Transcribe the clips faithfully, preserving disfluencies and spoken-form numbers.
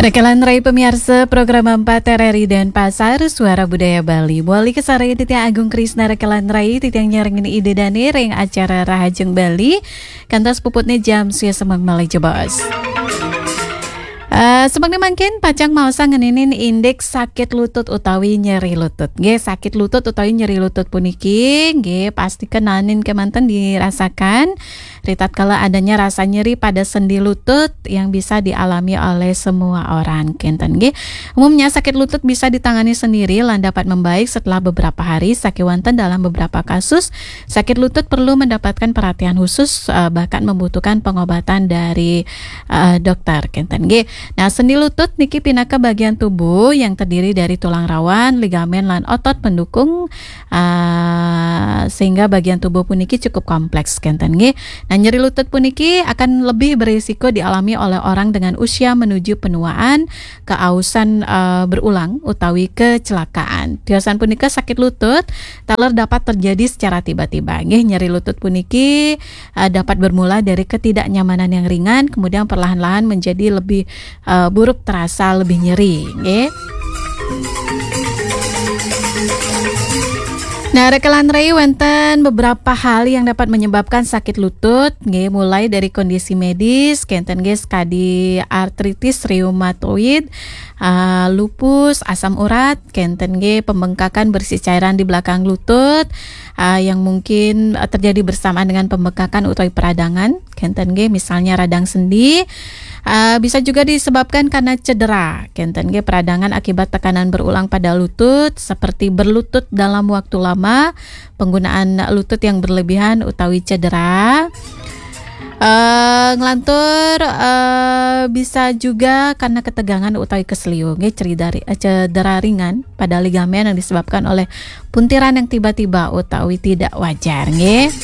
Rekelan Rai pemiarsa program empat R R I Denpasar, Suara Budaya Bali. Muali kasarengin titiang Agung Krisna Rekelan Rai, titiang nyarengin Ida Dane ring acara Rahajeng Bali. Kantos puputne jam swidak semeng malih jebos. Eh, semeng mangkin pacang maosang ngeninin indik sakit lutut utawi nyeri lutut. Nggih, sakit lutut utawi nyeri lutut puniki, nggih, pasti kenanin kemanten dirasakan. Ritatkala adanya rasa nyeri pada sendi lutut yang bisa dialami oleh semua orang, kenten nggih. Umumnya sakit lutut bisa ditangani sendiri lan dapat membaik setelah beberapa hari, sakewanten dalam beberapa kasus sakit lutut perlu mendapatkan perhatian khusus, eh, bahkan membutuhkan pengobatan dari, eh, dokter, kenten nggih. Nah, sendi lutut niki pinaka bagian tubuh yang terdiri dari tulang rawan, ligamen lan otot pendukung, eh, sehingga bagian tubuh puniki cukup kompleks, kenten nggih. Nah, nyeri lutut puniki akan lebih berisiko dialami oleh orang dengan usia menuju penuaan, keausan, eh, berulang utawi kecelakaan. Tiosan punika sakit lutut taler dapat terjadi secara tiba-tiba. Nggih, nyeri lutut puniki, eh, dapat bermula dari ketidaknyamanan yang ringan, kemudian perlahan-lahan menjadi lebih, eh, buruk, terasa lebih nyeri, nggih. Nah, rekelan Rai wenten beberapa hal yang dapat menyebabkan sakit lutut, nggih, mulai dari kondisi medis, kenten nggih, sekadi artritis reumatoid, ah, lupus, asam urat, kenten nggih, pembengkakan berisi cairan di belakang lutut, ah, yang mungkin, ah, terjadi bersamaan dengan pembengkakan utawi peradangan, kenten nggih, misalnya radang sendi, ah, bisa juga disebabkan karena cedera, kenten nggih, peradangan akibat tekanan berulang pada lutut, seperti berlutut dalam waktu lama, penggunaan lutut yang berlebihan utawi cedera. Eh, ngelantur, eh, bisa juga karena ketegangan utawi keseliu, nggih, cedera, eh, cedera ringan pada ligamen yang disebabkan oleh puntiran yang tiba-tiba utawi tidak wajar, nggih.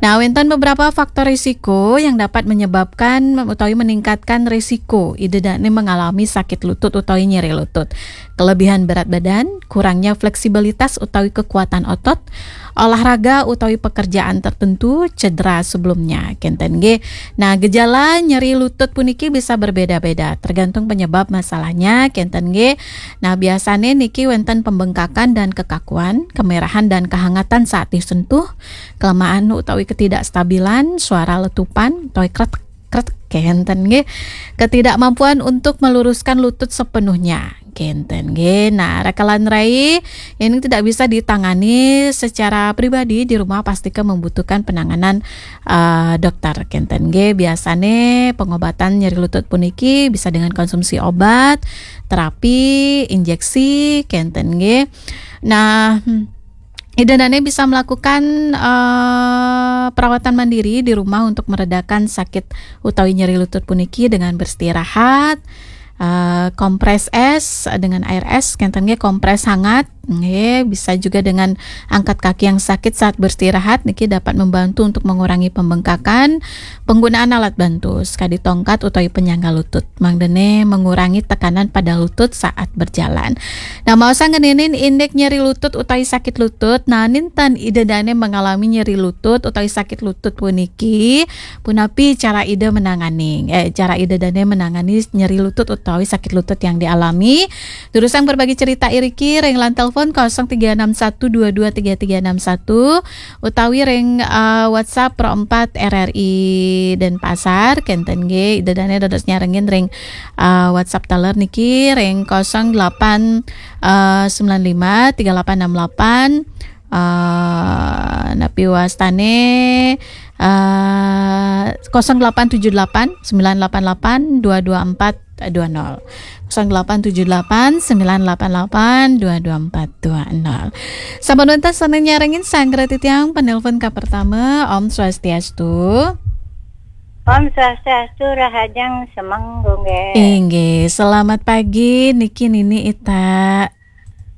Nah, wenten beberapa faktor risiko yang dapat menyebabkan utawi meningkatkan risiko Ida Dane mengalami sakit lutut utawi nyeri lutut. Kelebihan berat badan, kurangnya fleksibilitas utawi kekuatan otot, olahraga utawi pekerjaan tertentu, cedera sebelumnya, kenten nggih. Nah, gejala nyeri lutut puniki bisa berbeda-beda, tergantung penyebab masalahnya, kenten nggih. Nah, biasane niki wenten pembengkakan dan kekakuan, kemerahan dan kehangatan saat disentuh, kelemahan utawi ketidakstabilan, suara letupan, utawi kret kret, kenten nggih. Ketidakmampuan untuk meluruskan lutut sepenuhnya, kenten nggih. Nah, rekelan Rai ini tidak bisa ditangani secara pribadi di rumah, pastika membutuhkan penanganan, eh, dokter, kenten nggih. Biasane pengobatan nyeri lutut puniki bisa dengan konsumsi obat, terapi, injeksi, kenten nggih. Nah, hmm, Ida Dane bisa melakukan, eh, perawatan mandiri di rumah untuk meredakan sakit utawi nyeri lutut puniki dengan beristirahat, eh, kompres es dengan air es, kenten nggih, kompres hangat, nggih, bisa juga dengan angkat kaki yang sakit saat beristirahat, niki dapat membantu untuk mengurangi pembengkakan, penggunaan alat bantu, sekadi tongkat utawi penyangga lutut. Mangdane mengurangi tekanan pada lutut saat berjalan. Nah, maosang ngeninin indik nyeri lutut utawi sakit lutut. Nah, ninten Ida Dane mengalami nyeri lutut utawi sakit lutut puniki, punapi cara Ida menangani? Eh, cara Ida Dane menangani nyeri lutut utawi sakit lutut yang dialami. Durusang berbagi cerita iriki ring line telepon kosong tiga enam satu dua dua tiga tiga enam satu utawi ring, eh, WhatsApp Pro empat R R I Denpasar, kenten nggih, Ida Dane dados nyarengin ring, eh, WhatsApp taler niki ring kosong delapan, eh, sembilan lima tiga delapan enam delapan, eh, napi wastane, eh, kosong delapan tujuh delapan sembilan delapan delapan dua dua empat dua nol. Kosong delapan tujuh delapan sembilan delapan delapan dua dua empat dua nol. Sampun wenten sane nyarengin, sanggra titiang penelpon ka pertama. Om Swastiastu. Om Swastiastu, Rahajeng semeng, nggih. Inggih, selamat pagi niki Nini Ita.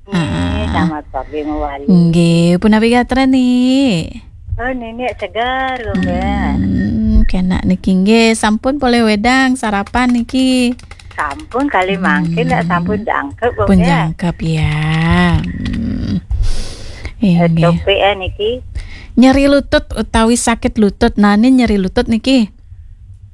Nggih, ah, selamat pagi, Mawali. Nggih, punapi gatra, Ni? Oh, Nini segar, nggih. Hmm, kenak niki nggih, sampun polih wedang sarapan niki. Sampun kali mangkin, hmm, sampun jangkep, pun nggih. Jangkep ya. Hmm. Eh, nggih. Topik, eh, niki. Nyeri lutut utawi sakit lutut. Nah, ini nyeri lutut niki.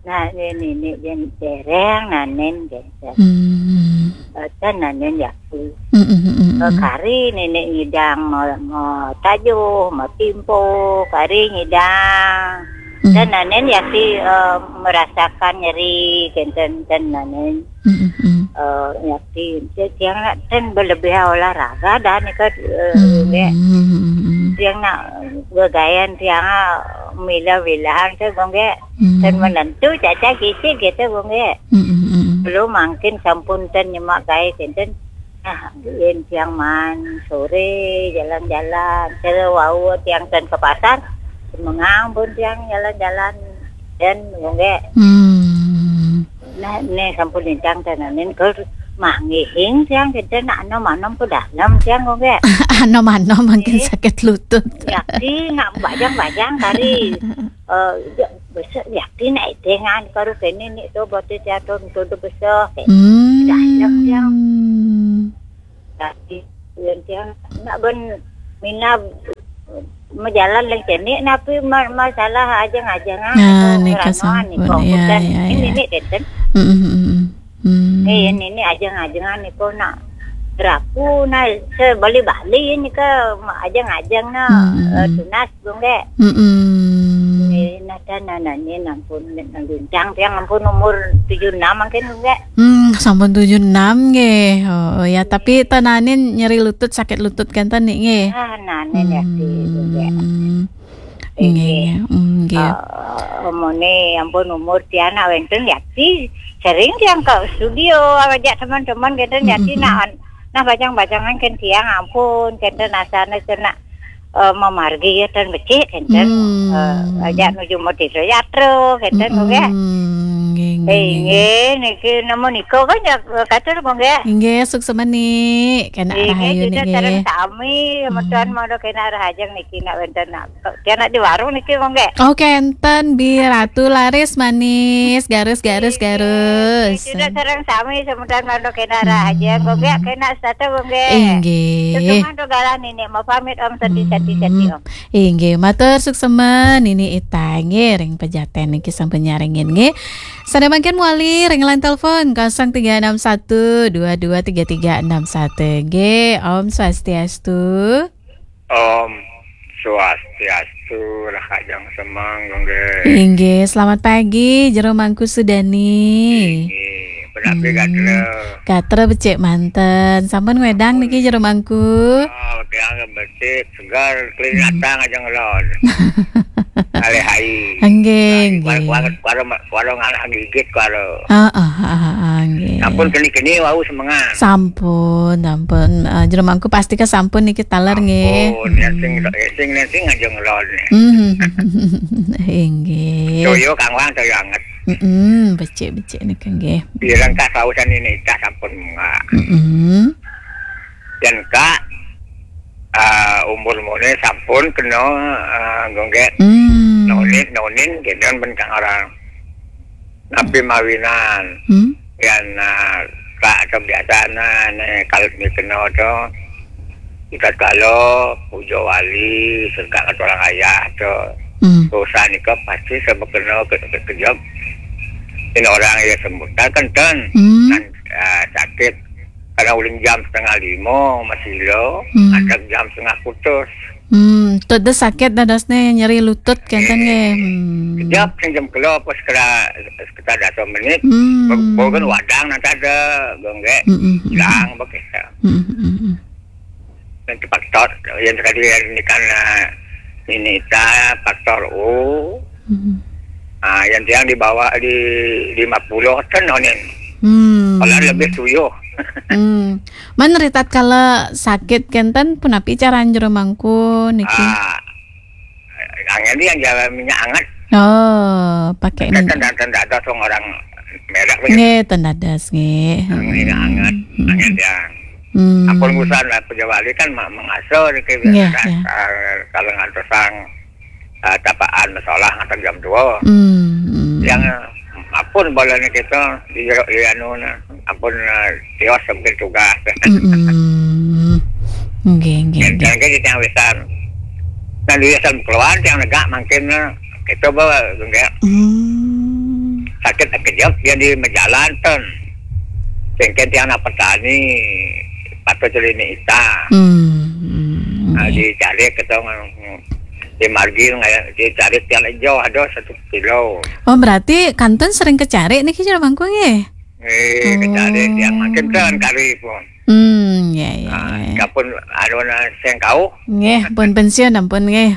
Nah, ini, ini, ini, dereng nanen, gitu. Hmm. Eh, ten nanen ya, aku. Mm, mm, mm, mm, Eh, mm. Kari nenek ngidang mau, mau tajuh, mau timpo, kari ngidang. Mm. Ten nanen ya, si, eh, merasakan nyeri, kenten, ten nanen. Mm, mm, mm. Eh, ya, si, si, tiang nak ten berlebih olahraga dah ni kan, eh, Mm, dek. Mm, mm, mm, mm. Tiang nak gagayan tiang, ah, mila-milaan ke, gongge. Hmm. Dan menentu caca kisi gitu, Bung, ya. Hmm, hmm, hmm, hmm. Belum mangkin sampun ten nyemak gae kenten. Nah, yen tiang man sore jalan-jalan, cara wau tiang ten ke pasar, semengang pun tiang jalan-jalan. Dan, Bung, ya. Hmm. Nah, ne sampun lintang tenanin ke mangihing tiang kenten, anom-anom ke dalam tiang, Bung, ya. Anom-anom mangkin Eh. Sakit lutut. Ya, si nak bajang-bajang kari. Eh, ya, besok yakin ai dengan karu kene ni tu, bote tiang tu, tu, tu besok. Eh, Hmm. Dalam tiang. Tapi, yang tiang nak ben mina mejalan lagi kene, napi ma-, masalah ajang-ajangan Nah, tu, ni rano kasampun. Ni kau Ya, hutan. Ya, Ini ya. Ni kenten. Mm, mm, mm, mm. Hmm. Eh, ini, ini ajang-ajangan ni kau nak beraku, nah, sebali-bali ni ke ajang-ajang nak, Hmm. Eh, tunas, Bung, dek. Hmm. Eh, nah, dan, nah, nah, ni nampun, nak lintang tiang ampun umur tujuh enam mangkin, Bung, dek. Hmm, sampun tujuh enam nggih. Oh, ya, tapi tenanin nyeri lutut, sakit lutut kenten ni nggih. Ah, nanin ya, Hmm. Bung, dek. Nggih, Nggih. Nggih. Hmm, nggih. Eh, omone ampun umur tiang nak wenten ya, si sering tiang ke studio, ajak teman-teman gitu, jadi Mm-mm. nak, nah, bajang-bajangan kan tiang ampun, kenten asane kena, eh, memargi ya, dan becik, kenten. Hmm. Eh, ajak nuju mau teatro, kenten, Mm-mm. Nggih. Nggih, nggih, Eh, nggih, nggih. Nggih, niki nama niko kan ya, kata, Bung, nggih. Nggih, suksema ni, kena Nggih, rahayu kita niki. Sareng sami, sama Hmm. Tuan mau kena rahajeng niki nak wenten nak. Kok dia nak di warung niki, Bung, nggih? Oh, kenten, Bi Ratu laris manis, garus, garus, Nggih. Garus. Nggih, sudah sareng sami, semudahan mantuk kena Hmm. Rahajeng, Bung, nggih, kena satu, Bung, nggih. Inggih. Suksema tu galah nini, mau pamit, Om, sati, sati, sati, Hmm. Om. Inggih, matur suksema Nini Ita, nggih, ring pejaten niki sampun nyarengin, nggih. Sada mangkin mawali ring line telepon kosong tiga enam satu dua dua tiga tiga enam satu, nggih. Om Swastiastu. Om Swastiastu, rahajeng semeng, nggih. Inggih, selamat pagi, Jero Mangku Sudani. Inggih, penapi Hmm, gatra? Gatra becik manten. Sampun ngwedang niki, Jero Mangku? Oh, tiang becik, segar, Hmm. Kelihatan aja ngelon. Alih hai. Nggih, Nah, nggih. Kuara, kuara, kuara, kuara ngalah gigit, kuara. Heeh, heeh, heeh, nggih. Sampun keni-keni wau semengan. Sampun, sampun. Eh, Jero Mangku pasti ke sampun niki taler, nggih. Sampun, ya, sing, Hmm. ya, sing, ya, sing aja ngelon. Hmm. Inggih. Toyo kangwang, toyo anget. Mm-mm, becik-becik nika, nggih. Pireng kah sausan ini, cah sampun munggah. Mm-mm. Dan kak, eh, umur mune sampun kena, eh, gonggek. Hmm. Nonin, nonin, gitu kan, ben kang orang. Napi mawinan. Hmm. Yan, eh, kak kebiasaan, eh, ne, kalau ni kena tu, kita kalau puja wali, serka kata orang ayah tu. Hmm. Dosa nika pasti sama kena ke, ke, kejam. Ini orang yang sembuh. Dan kenten. Hmm. Dan, eh, sakit. Karena uling jam setengah lima, masih lo. Hmm. Ada jam setengah putus. Hmm, tu dah sakit dah dasne nyeri lutut kenten, eh, nggih. Hmm. Kejap, sing jam kelo, pas kera, sekitar dua puluh menit. Hmm. Bo-, bo kan wadang nanti ada, gonggek. Hmm, hmm, hmm. Hilang, begitu. Hmm, hmm, hmm. Nanti faktor, yang tadi yang ini kan, eh, ini ta faktor U. Hmm. Ah, yang tiang di bawah di lima puluh ten onin. Hmm. Kalau lebih tujuh. Hmm. Man ritat kala sakit kenten punapi cara Jero Mangku niki? Ah, angin ni yang jalan minyak hangat. Oh, pakai minyak. Ten, ten dados wong orang merek begitu. Nggih, ten dados, nggih. Minyak hangat, hmm, angin dia. Hmm. Ampun urusan lah, pejabat kan ma-, mengasuh niki. Nggih, biasa, nggih. Ah, kalau ngantos sang, ah, tapaan masalah ngantos jam dua. Hmm, hmm. Yang, ah, ampun boleh ni kita di, di anu na, ampun, ah, tios sampai tugas. Hmm. Nggih, nggih, dan, nggih. Dan kita yang besar. Nah, dia asal keluar yang negak mangkin na, kita bawa, nggih. Hmm. sakit kejep dia di majalan ten. Sengken tiang anak petani, patut celini ita. Hmm. Hmm. Nah, di cari ketong di margi nggak di cari tiang hijau ada satu kilo. Oh, berarti kantun sering kecari nih, Ki Jero Mangku nggih? Eh, kecari tiang makin ten kari pun. Hmm, ya, ya, nah, ya. Kapun anu na sengkau. Nggih, pun pensiun ampun nggih.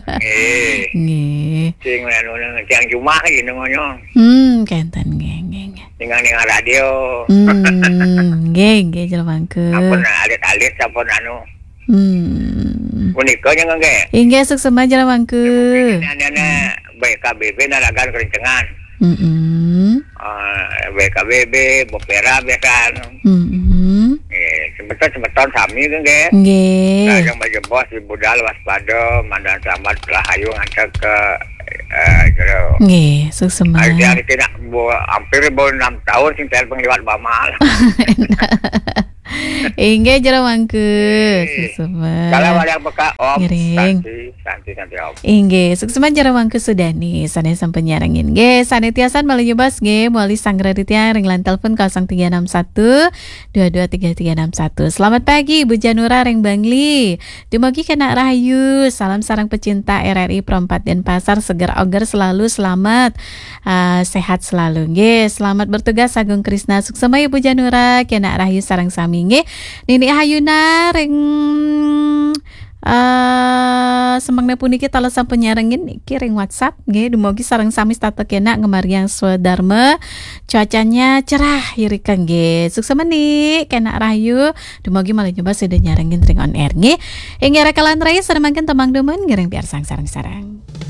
Nggih. Nggih. Sing anu na tiang jumah gitu ngonyong. Hmm, kenten nggih, nggih, nggih. Tinggal dengan radio. Hmm, nggih, nggih, Jero Mangku. Ampun alit-alit sampun anu. Hmm. Punika nya nggih. Inggih, suksema Jero Mangku. Ini anu na B K B B naragan kerencengan. Mm-mm. Eh, B K B B, Bopera biasa anu. Mm-mm. Eh, semeton-semeton sami tu nggih. Nggih. Yang baju bos di budal waspada, mandan selamat rahayu ngantar ke eh, Jero. Nggih, suksema. Ari dia niki nak bu, hampir bu enam tahun sing telepon liwat Bamal. Inggih, Jero Mangku. Nggih. Suksema. Kalau ada beka Om, ngiring. Santi, Santi, Santi Om. Inggih, suksema Jero Mangku Sudani, sané sampun nyarengin. Nggih, sané tiasan malih nyebas nggih, mawali sanggra titiang ring line telepon kosong tiga enam satu dua dua tiga tiga enam satu. Selamat pagi, Ibu Janura ring Bangli. Dumugi kenak rahayu, salam sareng pecinta R R I Pro empat Denpasar, seger oger selalu, selamat, eh, sehat selalu. Nggih, selamat bertugas Agung Krisna, suksema Ibu Janura, kenak rahayu sareng sami nggih. Nini Hayuna ring, eh, semengna puniki taler sampun nyarengin niki ring WhatsApp nggih, dumugi sareng sami setata kenak ngemariang swadarma. Cuacanya cerah irika nggih. Suksema Ni, kenak rahayu. Dumugi malih nyebas sida nyarengin ring on air nggih. Inggih rakalan rai, samangkin tembang dumun ngiring piarsang sareng-sareng.